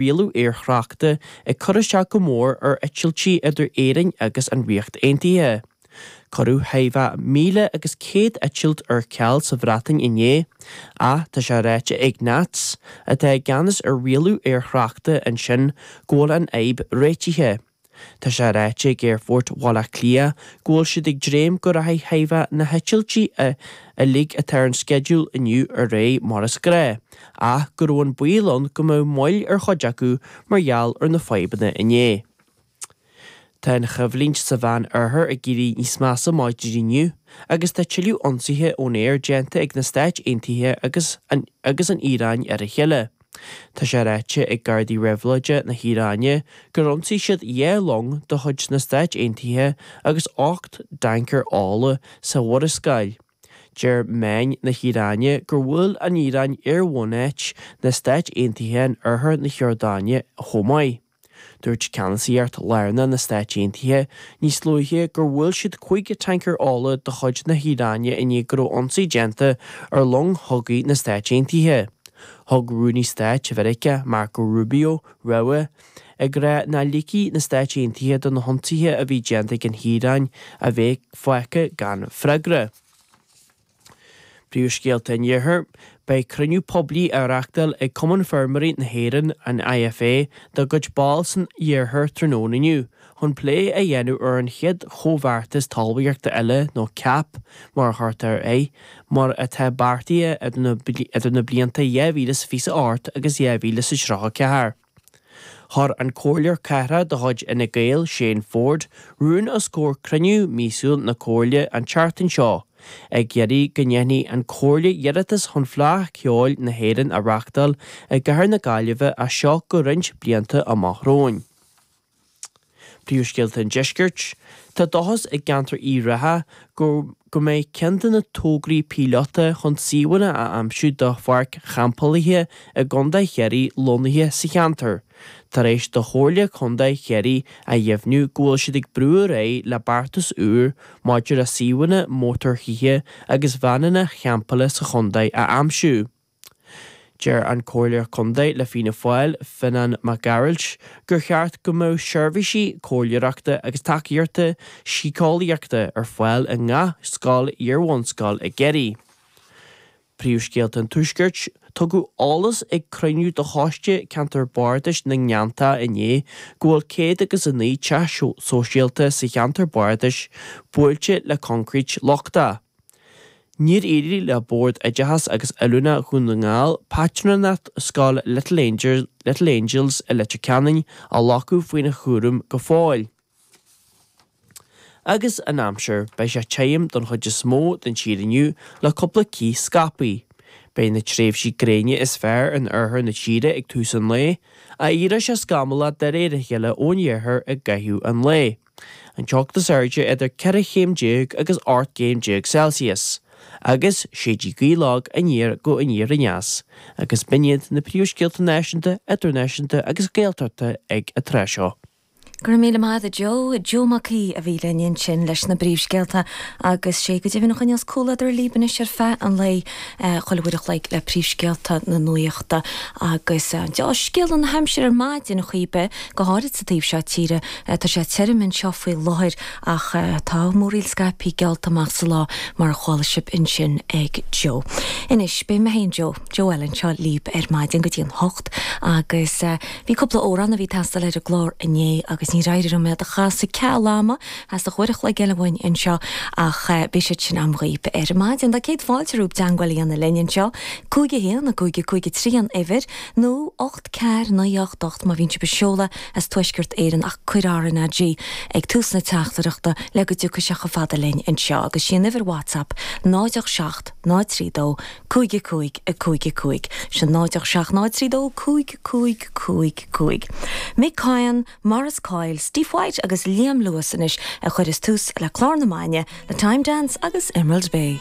Rialú aerthráchta ag cur isteach go mór ar eitiltí idir Éirinn agus an Ríocht Aontaithe. Cuireadh thimheá 1,100 eitilt ar ceal sa Bhreatain inné, ach tá sé ráite ag NATS, atá i gceannas ar rialú aerthráchta ansin, go bhfuil an fhadhb réitithe. Tá sé ráite ag Aerfort Bhaile Átha Cliath go bhfuil siad ag dréim go rachaidh thimheá na heitiltí uilig atá ar an sceideal inniu ar aghaidh mar is gnáth, ach go raibh an baol ann go mbeadh moill ar chuid acu mar gheall ar na fadhbanna inné. Tá an choimhlint sa Mheán Oirthear ag éirí níos measa maidin inniu agus tá tuilleadh ionsaithe ón aer déanta ag na Stáit Aontaithe agus agus an Iaráin ar a chéile. Tá sé ráite ag Gardaí Réabhlóide na hIaráine gur ionsaigh siad 2 long de chuid na Stáit Aontaithe agus 8 dtancaer ola sa Mhurascaill. Deir meáin na hIaráine gur bhuail an Iaráin aerbhunáit na Stáit Aontaithe in oirthear na hIordáine chomh maith. Dúirt Ceannasaíocht Lárnach na Stáit Aontaithe níos luaithe gur bhuail siad 5 tancaer ola de chuid na hIaráine i ndiaidh go raibh ionsaí déanta ar long chogaidh na Stáit Aontaithe. Thug Rúnaí Stáit Mheiriceá Marco Rubio rabhadh, ag rá nach ligfidh na Stáit Aontaithe do na hionsaithe a bhí déanta ag an hIaráin a bheith fágtha gan freagra. Príomhscéalta an Iarthair, Beidh cruinniú poiblí á reachtáil ag Cumann Feirmeoirí na hÉireann, an IFA, dá gcuid ball san iarthar tráthnóna inniu chun plé a dhéanamh ar an chéad chomhbheartas talmhaíochta eile nó cap mar a chuirtear air, mar atá beartaithe idir na blianta 2028 agus 2034. Chuir an Comhairleoir Cathrach de chuid Fhine Gael, Shane Forde, rún os comhair cruinniú míosúil na Comhairle an tseachtain seo, ag iarraidh go ndéanfaidh an Chomhairle iarratas chun Fleadh Cheoil na hÉireann a reáchtáil i gcathair na Gaillimhe as seo go roinnt blianta amach romhainn. Príomhscéalta an Deiscirt, Tá dóchas i gceantar Uíbh Ráthach go go mbeidh ceann de na tograí píolóta chun suíomhanna a aimsiú do pháirc champálaithe i gContae Chiarraí lonnaithe sa cheantar, tar éis do Chomhairle Contae Chiarraí a dheimhniú go bhfuil siad ag brú ar aghaidh le beartas úr maidir le suíomhanna mótarthithe agus veaineanna champála sa chontae a aimsiú. Deir an Comhairleoir Contae le Fianna Fáil, Fionán Mac Gearailt, gur cheart go mbeadh seirbhísí comhairleoireachta agus tacaíochta síceolaíochta ar fáil i ngach scoil iar-bhunscoil i gCiarraí. Príomhscéalta an Tuaiscirt, Tugadh eolas ag cruinniú de Choiste Ceantar Bardais na nGleanntach inné go bhfuil 109 teach sóisialta sa cheantar bardais buailte le coincréit lochtach. Níor éirigh le Bord Oideachais agus Oiliúna Dhún na nGall pátrúnacht scoil Little Angels i Leitir Ceanainn a ghlacadh faoina chúram go fóill. Agus an aimsir, beidh sé tirim don chuid is mó den tír inniu le cúpla cith scaipthe. Beidh na tréimhsí gréine is fearr in oirthear na tíre ag tús an lae, ach éireoidh sé scamallach de réir a chéile ón iarthar i gcaitheamh an lae. An teocht is airde idir 14 chéim agus 18 gcéim Celsius, agus séidfidh gaoth lag aniar go aniar aneas, agus b'in iad na príomhscéalta náisiúnta, idirnáisiúnta agus Gaeltachta ag an tráth seo. Go raibh míle maith agat a Joe. Joe Mac Aoidh a bhí linn ansin leis na bpríomhscéalta agus sé go deimhin a choinneos comhluadar libh anois ar feadh an lae. Chuile uair a chloig le príomhscéalta na nuachta agus deá-scéala na haimsire ar maidin ar chaoi ar bith, go háirid sa taobh seo tíre. Tá sé tirim anseo faoi láthair ach tá múraíl scaipthe geallta amach sa lá mar a chuala sibh ansin ag Joe. Anois, beidh mé féin, Joe, Joe eile anseo libh ar maidin go dtí an hocht agus bhí cúpla amhrán a bhí ag teastáil ar an gclár inné agus níor éirigh liom iad a chasadh ceal ama. Theastaigh uair a chloig eile uainn anseo ach beidh siad sin a'm dhaoib ar maidin. Tá céad fáilte romhaibh teagmháil a dhéanamh linn anseo, 5 1 5 5 3 an uimhir, nó 8 4 9 8 8 má bhíonn sibh ag seoladh as Tuaisceart Éireann ach cuir RnaG ag tús na teachtaireachta le go dtiocfaidh sé chomh fada linn anseo agus sí an uimhir WhatsApp 0 8 7 0 3 2 5 5 5 5 Sin 0 8 7 0 3 2 5 5 5 5 Mick Coyne, Maurice Coyle, Steve White agus Liam Lewis anois a chuireas tús le clár na maidine le Time Dance agus Emerald Bay.